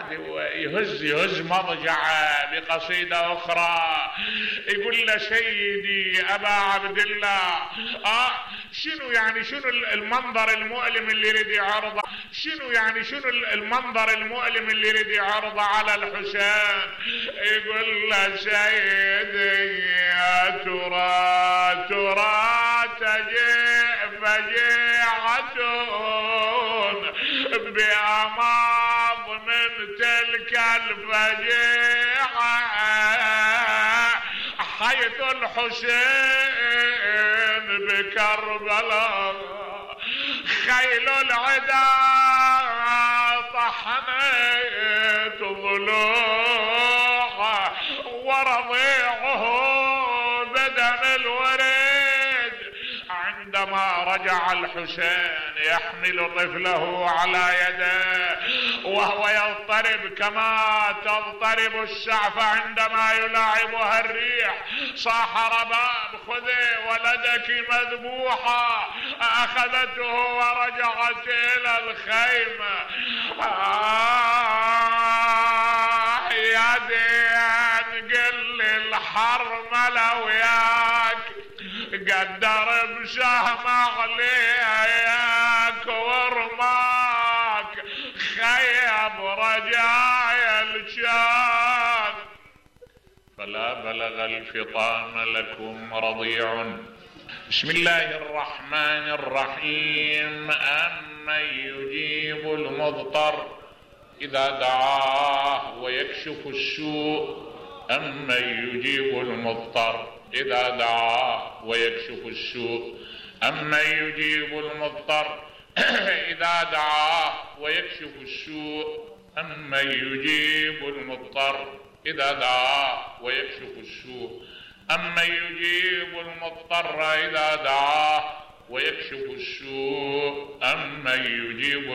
قاعد يهز مضجعه بقصيدة اخرى يقول له سيدي ابا عبد الله شنو يعني شنو المنظر المؤلم اللي يريد يعرضه، شنو يعني شنو المنظر المؤلم اللي يريد يعرضه على الحسين. يقول له سيدي يا ترى تجيء فجيعة بأماض من تلك الفجيعة حيث الحسين بكربلاء خيل العدا طحنت ضلوعه ورضيعه بدم الوريد. عندما رجع الحسين يحمل طفله على يده وهو يضطرب كما تضطرب السعف عندما يلاعبها الريح، صاح رباب خذي ولدك مذبوحا، أخذته ورجعت إلى الخيمة. يا دين قل الحرملة وياك قدر بسهم عليك ورماك خيب رجايا الشان. فلا بلغ الفطام لكم رضيع. بسم الله الرحمن الرحيم. أمن يجيب المضطر إذا دعاه ويكشف السوء. أمن يجيب المضطر إذا دعاه ويكشف السوء. أمن يجيب المضطر إذا دعاه ويكشف السوء. أمن يجيب المضطر إذا دعاه ويكشف السوء. أمن يجيب المضطر إذا دعاه ويكشف السوء. أمن يجيب